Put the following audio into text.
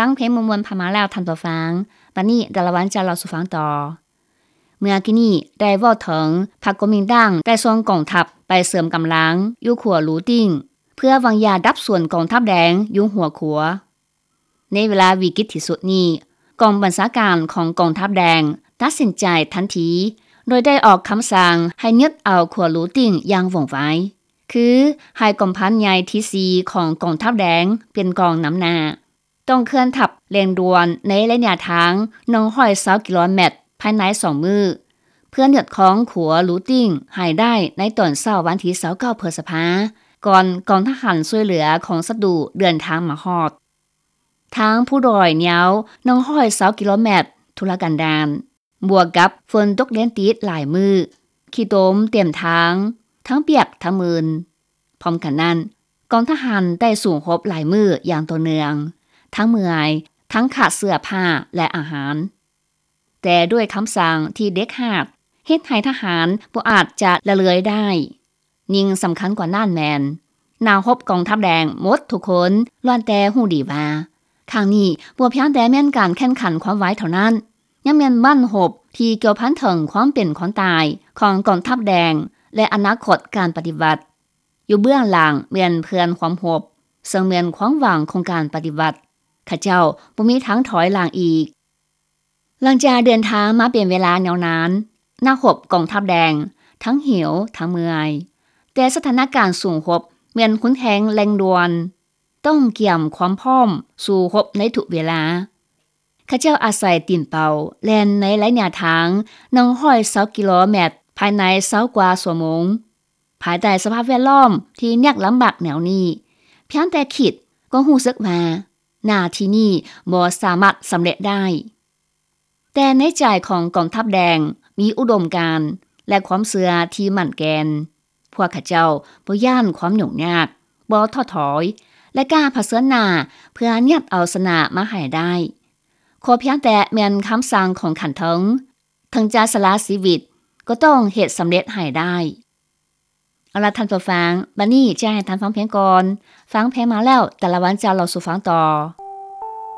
ຟັງເພງມ່ວນໆຜ່ານມາແລ້ວທ່ານຜູ້ຟັງ, ບັດນີ້ດາລະວັນຈະເລົ່າສູ່ຟັງຕໍ່. ເມື່ອກີ້ນີ້ໄດ້ເວົ້າເຖິງພັກກົວມິນຕາງໄດ້ສົ່ງກອງທັບໄປເສີມກຳລັງຢູ່ຂົວຫຼູຕິ້ງ ເພື່ອວາງຢາດັບສູນກອງທັບແດງຢູ່ຫົວຂົວ. ໃນເວລາວິກິດທີ່ສຸດນີ້, ກອງບັນຊາການຂອງກອງທັບແດງຕັດສິນໃຈທັນທີ ໂດຍໄດ້ອອກຄຳສັ່ງໃຫ້ຍຶດເອົາຂົວຫຼູຕິ້ງຢ່າງວ່ອງໄວ, ຄືໃຫ້ກອງພັນໃຫຍ່ທີສີ່ຂອງກອງທັບແດງເປັນກອງນຳໜ້າ, ຕ້ອງເຄື່ອນທັບເລັ່ງດ່ວນໃນໄລຍະທາງໜຶ່ງຮ້ອຍຊາວກິໂລແມັດພາຍໃນສອງມື້ ເພື່ອຍຶດຄອງຂົວຫຼູຕິ້ງໃຫ້ໄດ້ໃນຕອນເຊົ້າວັນທີຊາວເກົ້າ ພຶດສະພາ ກ່ອນກອງທະຫານຊ່ວຍເຫຼືອຂອງສັດຕູເດີນທາງມາຮອດ. ທາງພູດອຍຍາວໜຶ່ງຮ້ອຍຊາວກິໂລແມັດທຸລະກັນດານ, ບວກກັບຝົນຕົກລຽນຕິດຫຼາຍມື້, ຂີ້ຕົມເຕັມທາງ, ທັງປຽກທັງມື່ນ. ພ້ອມກັນນັ້ນ, ກອງທະຫານໄດ້ສູ້ຮົບຫຼາຍມື້ຢ່າງຕໍ່ເນື່ອງ, ທັງເມື່ອຍ, ທັງຂາດເສື້ອຜ້າ ແລະ ອາຫານ. ແຕ່ດ້ວຍຄຳສັ່ງທີ່ເດັດຂາດ, ເຮັດໃຫ້ທະຫານບໍ່ອາດຈະລະເລີຍໄດ້. ຍິ່ງສຳຄັນກວ່ານັ້ນແມ່ນ, ນັກຮົບກອງທັບແດງໝົດທຸກຄົນລ້ວນແຕ່ຮູ້ດີວ່າ, ຄັ້ງນີ້ບໍ່ພຽງແຕ່ແມ່ນການແຂ່ງຂັນຄວາມໄວເທົ່ານັ້ນ, ຍັງແມ່ນບັ້ນຮົບທີ່ກ່ຽວພັນເຖິງຄວາມເປັນຄວາມຕາຍຂອງກອງທັບແດງ ແລະ ອະນາຄົດການປະຕິວັດ. ຢູ່ເບື້ອງຫຼັງແມ່ນເພື່ອນຮ່ວມຮົບ, ເຊິ່ງແມ່ນຄວາມຫວັງຂອງການປະຕິວັດ. ເຂົາເຈົ້າບໍ່ມີທາງຖອຍຫຼັງອີກ. ຫຼັງຈາກເດີນທາງມາເປັນເວລາຍາວນານ, ນັກຮົບກອງທັບແດງທັງຫິວທັງເມື່ອຍ, ແຕ່ສະຖານະການສູ້ຮົບແມ່ນຮຸນແຮງເລັ່ງດ່ວນ, ຕ້ອງກຽມຄວາມພ້ອມສູ້ຮົບໃນທຸກເວລາ. ເຂົາເຈົ້າອາໄສຕີນເປົ່າແລ່ນໃນໄລຍະທາງໜຶ່ງຮ້ອຍຊາວກິໂລແມັດພາຍໃນຊາວກວ່າຊົ່ວໂມງ. ພາຍໃຕ້ສະພາບແວດລ້ອມທີ່ຍາກລຳບາກແນວນີ້, ພຽງແຕ່ຄິດກໍຮູ້ສຶກວ່າໜ້າທີ່ນີ້ບໍ່ສາມາດສຳເລັດໄດ້. ແຕ່ໃນໃຈຂອງກອງທັບແດງມີອຸດົມການ ແລະ ຄວາມເຊື່ອທີ່ໝັ້ນແກ່ນ. ພວກເຂົາເຈົ້າບໍ່ຢ້ານຄວາມຫຍຸ້ງຍາກ, ບໍ່ທໍ້ຖອຍ ແລະ ກ້າຜະເຊີນໜ້າເພື່ອຍາດເອົາຊະນະມາໃຫ້ໄດ້. ຂໍພຽງແຕ່ແມ່ນຄຳສັ່ງຂອງຂັ້ນເທິງ, ເຖິງຈະສະຫຼະຊີວິດກໍຕ້ອງເຮັດສຳເລັດໃຫ້ໄດ້. ເອົາລະທ່ານຜູ້ຟັງ, ບັດນີ້ຈະໃຫ້ທ່ານຟັງເພງກ່ອນ. ຟັງເພງມາແລ້ວ, ດາລະວັນຈະເລົ່າສູ່ຟັງຕໍ່.